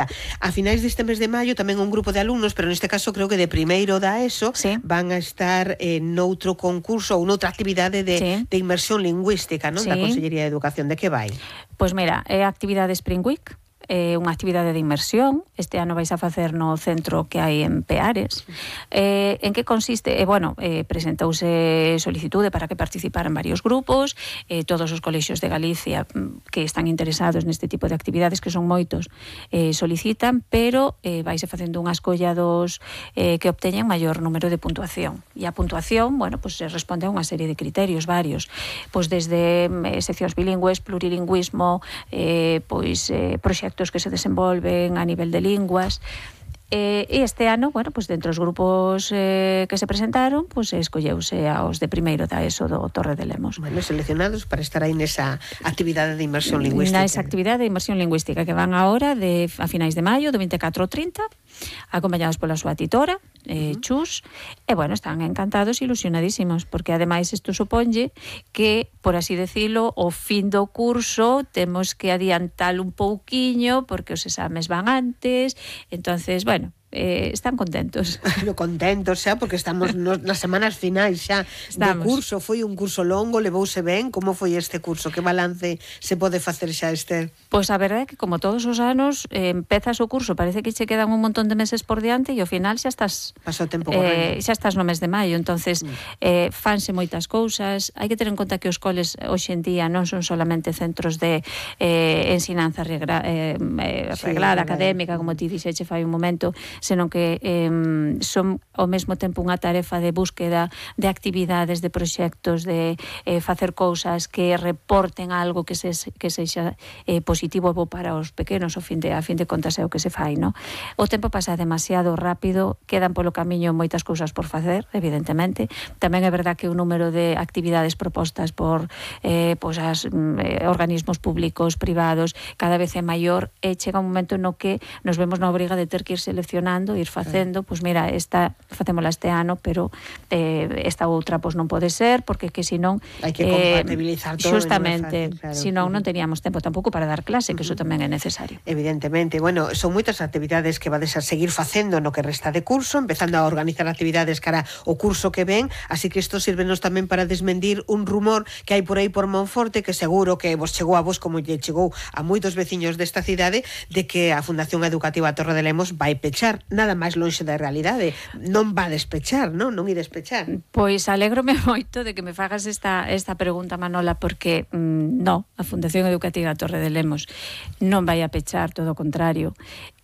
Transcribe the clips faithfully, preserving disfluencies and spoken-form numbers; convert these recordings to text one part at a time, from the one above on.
A finais deste mes de maio tamén un grupo de alumnos, pero neste caso creo que de primeiro da ESO, sí. van a estar eh, noutro concurso ou noutra actividade de, sí. de inmersión lingüística, non? Sí. Da Consellería de Educación. De que vai? Pois mira, é a actividade Spring Week, é unha actividade de inmersión. Este ano vais a facer no centro que hai en Peares. Eh, en que consiste? Eh, bueno, eh, presentouse solicitude para que participaran varios grupos, eh, todos os colexios de Galicia que están interesados neste tipo de actividades, que son moitos, eh, solicitan, pero eh, vais a facendo unha escolla dos eh, que obteñen maior número de puntuación. E a puntuación, bueno, pues responde a unha serie de criterios varios, pois desde eh, seccións bilingües, plurilingüismo, eh, pois eh, proxectos que se desenvolven a nivel de linguas. Eh, e este ano, bueno, pues dentro dos grupos eh, que se presentaron, pues escolleuse aos de primeiro da ESO do Torre de Lemos. Bueno, seleccionados para estar aí nesa actividade de inmersión lingüística. Nesa actividade de inmersión lingüística que van agora de, a finais de maio, do vinte e catro ao trinta, acompañados pola súa titora, eh, uh-huh. Chus, e bueno, están encantados e ilusionadísimos, porque ademais isto suponlle que, por así decilo, o fin do curso temos que adiantalo un pouquiño, porque os exames van antes, entonces, bueno, Eh, están contentos. No, contentos xa, porque estamos nos, nas semanas finais xa estamos. do curso. Foi un curso longo, levouse ben. Como foi este curso? Que balance se pode facer xa, Esther? Pois a verdade é que, como todos os anos, eh, empezas o curso, parece que che quedan un montón de meses por diante e ao final xa estás pasou tempo eh, xa estás no mes de maio. Entonces, mm. eh, fanse moitas cousas. Hai que ter en conta que os coles hoxe en día non son solamente centros de eh, ensinanza regra, eh, eh, reglada, sí, académica, como ti dixeche fai un momento, senón que eh, son ao mesmo tempo unha tarefa de búsqueda de actividades, de proxectos, de eh, facer cousas que reporten algo que, se, que sexa eh, positivo para os pequenos, ao fin de, a fin de contas é o que se fai, no? O tempo pasa demasiado rápido, quedan polo camiño moitas cousas por facer, evidentemente. Tamén é verdad que o número de actividades propostas por eh, pues as, eh, organismos públicos, privados, cada vez é maior, e chega un momento no que nos vemos na obriga de ter que ir seleccionando, ir facendo, pois pues mira, esta facémola este ano, pero eh, esta outra pois pues non pode ser, porque que senón hai que compatibilizar eh, todo, justamente, non é fácil, claro. Senón non teríamos tempo tampouco para dar clase, que uh-huh. iso tamén é necesario. Evidentemente, bueno, son moitas actividades que vades a seguir facendo no que resta de curso, empezando a organizar actividades cara o curso que ven, así que isto sírvenos tamén para desmentir un rumor que hai por aí por Monforte, que seguro que vos chegou a vos como lle chegou a moitos veciños desta cidade, de que a Fundación Educativa Torre de Lemos vai pechar. Nada máis lonxe da realidade. Non va a despechar, non? Non ides pechar. Pois alégrome moito de que me fagas esta, esta pregunta, Manola, porque mm, no, a Fundación Educativa Torre de Lemos non vai a pechar, todo o contrario.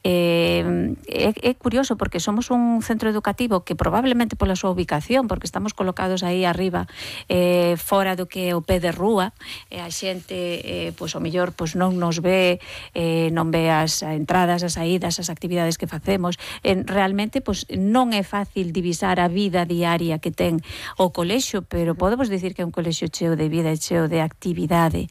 Eh, é, é curioso porque somos un centro educativo que probablemente pola súa ubicación, porque estamos colocados aí arriba, eh, fora do que é o pé de rúa, e a xente eh, pois o mellor pois non nos ve, eh, non ve as entradas, as saídas, as actividades que facemos. Eh, realmente pois non é fácil divisar a vida diaria que ten o colexio, pero podemos dicir que é un colexio cheo de vida e cheo de actividade.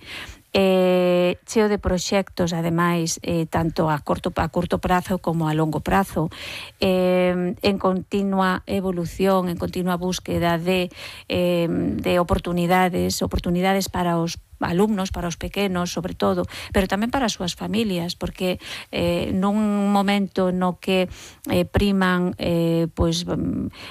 Eh, cheo de proxectos, ademais, eh, tanto a corto, a curto prazo como a longo prazo, eh, en continua evolución, en continua búsqueda de, eh, de oportunidades, oportunidades para os alumnos, para os pequenos, sobre todo, pero tamén para as súas familias, porque eh, nun momento no que eh, priman eh, pois,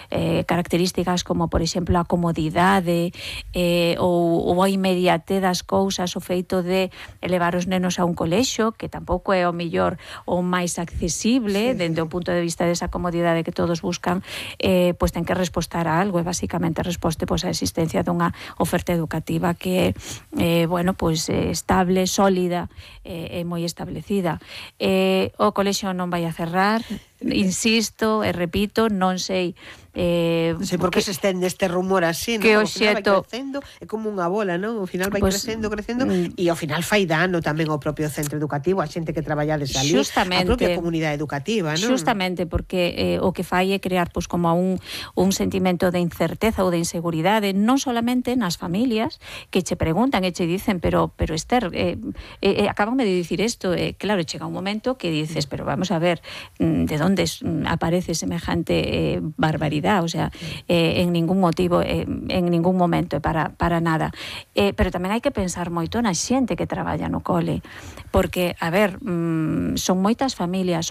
eh, características como, por exemplo, a comodidade eh, ou, ou a inmediate das cousas, o feito de elevar os nenos a un colexio, que tampouco é o mellor ou máis accesible, sí, dende o punto de vista desa comodidade que todos buscan, eh, pois ten que respostar a algo, e basicamente resposte pois, a existencia dunha oferta educativa que é eh, bueno, pois eh, estable, sólida e eh, moi establecida. Eh, o colexio non vai a cerrar, insisto e repito, non sei Eh, non sei por que se estende este rumor así, que non? O xeto vai crecendo, é como unha bola, non? Ao final vai pues, crecendo, crecendo mm, e ao final fai dano tamén ao propio centro educativo, a xente que traballades ali, a propia comunidade educativa, non? Justamente, porque eh, o que fai é crear pois, como un, un sentimento de incerteza ou de inseguridade, non solamente nas familias que che preguntan e che dicen, pero, pero Esther, eh, eh, acabame de dicir isto, eh, claro, chega un momento que dices, pero vamos a ver, de onde aparece semejante eh, barbaridade, o sea, eh, en ningún motivo, eh, en ningún momento, para, para nada. Eh, pero tamén hai que pensar moito na xente que traballa no cole, porque, a ver, mm, son moitas familias,